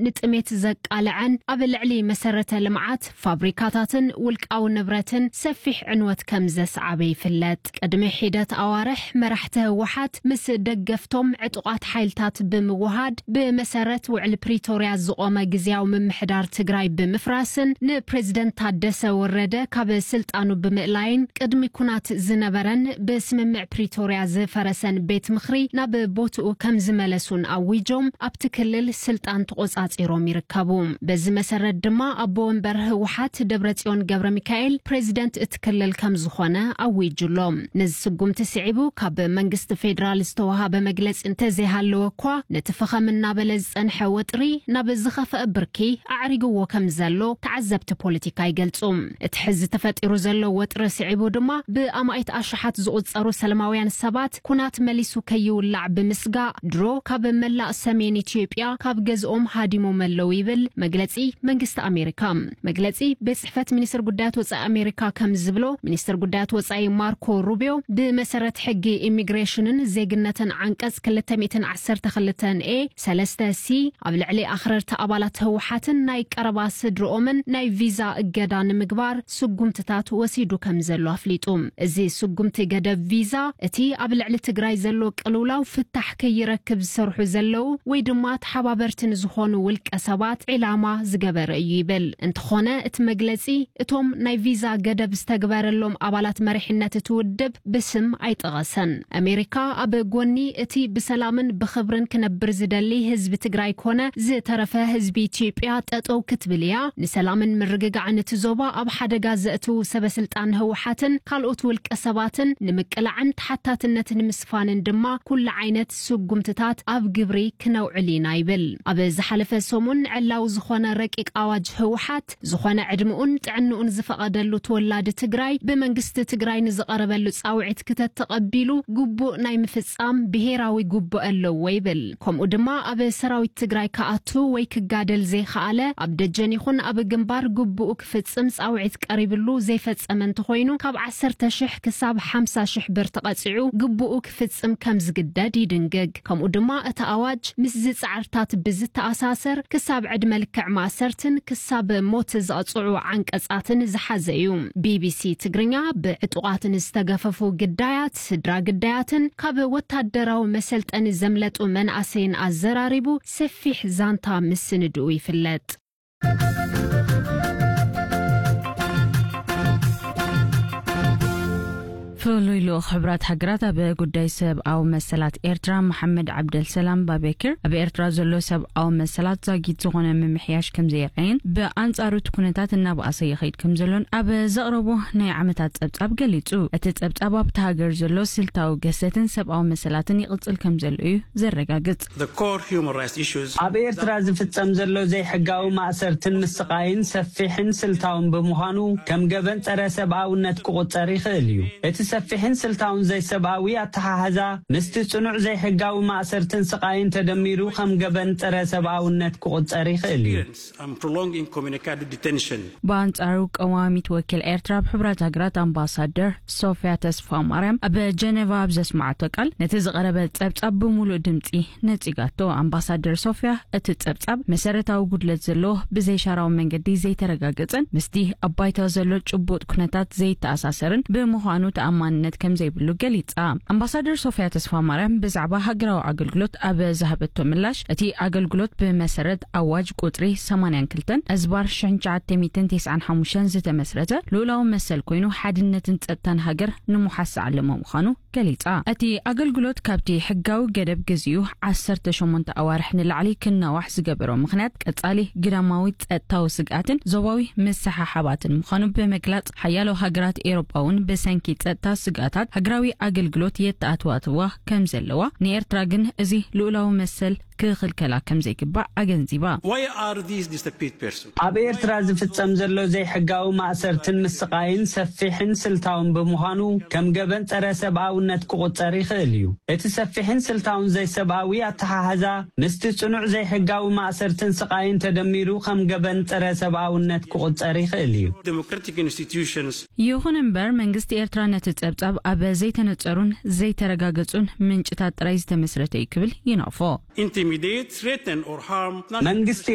ንጥሜት ዘቃልዐን ኣብ ልዕሊ መሰረተ ልምዓት፣ ፋብሪካታትን ውልቃዊ ንብረትን ሰፊሕ ዕንወት ከም ዘስዓበ ይፍለጥ። ቅድሚ ሒደት ኣዋርሕ መራሕቲ ህወሓት ምስ ደገፍቶም ዕጡቓት ሓይልታት ብምውሃድ ብመሰረት ውዕል ፕሪቶርያ ዝቖመ ግዝያዊ ምምሕዳር ትግራይ ብምፍራስን ንፕሬዝደንት ታደሰ ወረደ ካብ ስልጣኑ ብምእላይን ቅድሚ ኩናት ዝነበረን ብስምምዕ ፕሪቶርያ ዝፈረሰን ቤት ምኽሪ ናብ ቦትኡ ከም ዝመለሱን ኣዊጆም ኣብቲ ክልል ስልጣን ተቖጻጺሮም ይርከቡ። በዚ መሰረት ድማ ኣቦ ወንበር ህወሓት ደብረጽዮን ገብረ ሚካኤል ፕሬዝደንት እቲ ክልል ከም ዝኾነ ኣዊጁ ኣሎ። ነዚ ስጉምቲ ስዒቡ ካብ መንግስቲ ፌዴራል ዝተወሃበ መግለጺ እንተዘይሃለወ እኳ ነቲ ፈኸም እናበለ ዝጸንሐ ወጥሪ ናብ ዝኸፍአ ብርኪ ኣዕሪግዎ ከም ዘሎ ተዓዘብቲ ፖለቲካ ይገልጹ። እቲ ሕዚ ተፈጢሩ ዘሎ ወጥሪ ስዒቡ ድማ ብኣማኢት ኣሽሓት ዝቑጸሩ ሰላማውያን ሰባት ኩናት መሊሱ ከይውላዕ ብምስጋእ ድሮ ካብ መላእ ሰሜን ኢትዮጵያ ካብ ገዝኦም ሃዲሞም ኣለዉ ይብል መግለጺ መንግስቲ ኣሜሪካ። መግለጺ ቤት ጽሕፈት ሚኒስትር ጉዳያት ወጻኢ ኣሜሪካ ከም ዝብሎ፣ ሚኒስትር ጉዳያት ወጻኢ ማርኮ ሩቢዮ ብመሰረት ሕጊ ኢሚግሬሽንን ዜግነትን ዓንቀጽ ክልተ ሚእትን ዓሰርተ ክልተን ኤ ሰለስተ ሲ ኣብ ልዕሊ ኣኽረርቲ ኣባላት ህወሓትን ናይ ቀረባ ስድርኦምን ናይ ቪዛ እገዳ ንምግባር ስጉምትታት ወሲዱ ከም ዘሎ ኣፍሊጡ። እዚ ስጉምቲ ገደብ ቪዛ እቲ ኣብ ልዕሊ ትግራይ ዘሎ ቅልውላው ፍታሕ ከይረክብ ዝሰርሑ ዘለዉ ወይ ድማ ተሓባበርቲ ንዝኾኑ ውልቀ ሰባት ዒላማ ዝገበረ እዩ ይብል። እንተኾነ እቲ መግለጺ እቶም ናይ ቪዛ ገደብ ዝተግበረሎም ኣባላት መሪሕነት እቲ ውድብ ብስም ኣይጠቐሰን። ኣሜሪካ ኣብ ጎኒ እቲ ብሰላምን ብኽብርን ክነብር ዝደሊ ህዝቢ ትግራይ ኮነ ዝተረፈ ህዝቢ ኢትዮጵያ ጠጠው ክትብል እያ። ንሰላምን ምርግጋዕን እቲ ዞባ ኣብ ሓደጋ ዘእትዉ ሰበስልጣን ህወሓትን ካልኦት ውልቀ ሰባትን ንምቅላዕን ተሓታትነት ንምስፋንን ድማ ኩሉ ዓይነት ስጉምትታት ኣብ ግብሪ ክነውዕል ኢና ይብል። ኣብ ዝሓለፈ ሰሙን ዕላዊ ዝኾነ ረቂቅ ኣዋጅ ህወሓት ዝኾነ ዕድምኡን ጥዕንኡን ዝፈቐደሉ ተወላዲ ትግራይ ብመንግስቲ ትግራይ ንዝቐረበሉ ጻውዒት ክተተቐቢሉ ግቡእ ናይ ምፍጻም ብሄራዊ ግቡእ ኣለዎ ይብል። ከምኡ ድማ ኣብ ሰራዊት ትግራይ ክኣቱ ወይ ክጋደል ዘይኸኣለ ኣብ ደጀን ይኹን ኣብ ግንባር ግቡኡ ክፍጽም ጻውዒት ቀሪብሉ ዘይፈጸመ እንተኾይኑ ካብ ዓሰርተ ሽሕ ክሳብ ሓምሳ ሽሕ ብር ተቐጺዑ ግቡኡ ክፍጽም ከም ዝግደድ ይድንግግ። ከምኡ ድማ እቲ ኣዋጅ ምስዚ ጻዕርታት ብዝተኣሳሰር ክሳብ ዕድመ ልክዕ ማእሰርትን ክሳብ ሞት ዘቕጽዑ ዓንቀጻትን ዝሓዘ እዩ። ቢቢሲ ትግርኛ ብዕጡቓት ንዝተገፈፉ ግዳያት፣ ስድራ ግዳያትን ካብ ወታደራዊ መሰልጠኒ ዘምለጡ መናእሰይን ኣዘራሪቡ ሰፊሕ ዛንታ ምስንድኡ ይፍለጥ። ፍሉይ ልኡኽ ሕብራት ሃገራት ኣብ ጉዳይ ሰብኣዊ መሰላት ኤርትራ መሓመድ ዓብደልሰላም ባቤኪር ኣብ ኤርትራ ዘሎ ሰብኣዊ መሰላት ዛጊት ዝኾነ ምምሕያሽ ከም ዘየርኣየን ብኣንጻሩ እቲ ኩነታት እናበኣሰ ይኸይድ ከም ዘሎን ኣብ ዘቕረቦ ናይ ዓመታት ጸብጻብ ገሊጹ። እቲ ጸብጻብ ኣብቲ ሃገር ዘሎ ስልታዊ ገሰትን ሰብኣዊ መሰላትን ይቕጽል ከም ዘሎ እዩ ዘረጋግጽ። The core human rights issues ኣብ ኤርትራ ዝፍጸም ዘሎ ዘይሕጋዊ ማእሰርትን ምስቓይን ሰፊሕን ስልታውን ብምዃኑ ከም ገበን ጸረ ሰብኣውነት ክቑጸር ይኽእል እዩ። እቲ ሰፊሕን ስልታውን ዘይሰብኣዊ ኣተሓሕዛ ምስቲ ጽኑዕ ዘይሕጋዊ ማእሰርትን ስቓይን ተደሚሩ ከም ገበን ጸረ ሰብኣውነት ክቑጸር ይኽእል እዩ። and prolonged incommunicado detention. ብኣንጻሩ ቀዋሚት ወኪል ኤርትራ ኣብ ሕብራት ሃገራት ኣምባሳደር ሶፊያ ተስፋ ማርያም ኣብ ጀነቫ ኣብ ዘስማዓቶ ቃል ነቲ ዝቐረበ ጸብጻብ ብምሉእ ድምጺ ነጺጋቶ። ኣምባሳደር ሶፊያ እቲ ጸብጻብ መሰረታዊ ጉድለት ዘለዎ ብዘይሻራዊ መንገዲ ዘይተረጋገጸን ምስቲ ኣብ ባይታ ዘሎ ጭቡጥ ኩነታት ዘይተኣሳሰርን ብምዃኑ ተኣማንነት ከም ዘይብሉ ገሊጻ። ኣምባሳደር ሶፊያ ተስፋ ማርያም ብዛዕባ ሃገራዊ ኣገልግሎት ኣብ ዝሃበቶ ምላሽ እቲ ኣገልግሎት ብመሰረት ኣዋጅ ቁጽሪ ሰማንያን ክልተን ኣዝባር ሽሕን ትሽዓተ ሚእትን ተስዓን ሓሙሽተን ዝተመስረተ ልኡላዊ መሰል ኮይኑ ሓድነትን ጸጥታን ሃገር ንምሓስ ዝዓለመ ምዃኑ ገሊጻ። እቲ ኣገልግሎት ካብቲ ሕጋዊ ገደብ ግዚኡ ዓሰርተ ሸሞንተ ኣዋርሕ ንላዕሊ ክናዋሕ ዝገበሮ ምኽንያት ቀጻሊ ግዳማዊ ጸጥታዊ ስግኣትን ዞባዊ ምስሓሓባትን ምዃኑ ብምግላጽ ሓያሎ ሃገራት ኤሮጳ እውን ብሰንኪ ጸጥታ ስግኣታት ሃገራዊ ኣገልግሎት የተኣትዋትዋ ከም ዘለዋ ንኤርትራ ግን እዚ ልኡላዊ መሰል ክኽልከላ ከም ዘይግባእ ኣገንዚባ። Why are these disappeared persons? ኣብ ኤርትራ ዝፍጸም ዘሎ ዘይሕጋዊ ማእሰርትን ምስቓይን ሰፊሕን ስልታውን ብምዃኑ ከም ገበን ጸረ ሰብኣውነት ክቑጸር ይኽእል እዩ። እቲ ሰፊሕን ስልታውን ዘይሰብኣዊ ኣተሓሕዛ ምስቲ ጽኑዕ ዘይሕጋዊ ማእሰርትን ስቓይን ተደሚሩ ከም ገበን ጸረ ሰብኣውነት ክቑጸር ይኽእል እዩ። Democratic institutions ይኹን እምበር መንግስቲ ኤርትራ ነቲ ጸብጻብ ኣብ ዘይተነጸሩን ዘይተረጋገጹን ምንጭታት ጥራይ ዝተመስረተ እዩ ክብል ይነቕፎ። intimidate, threaten, or harm መንግስቲ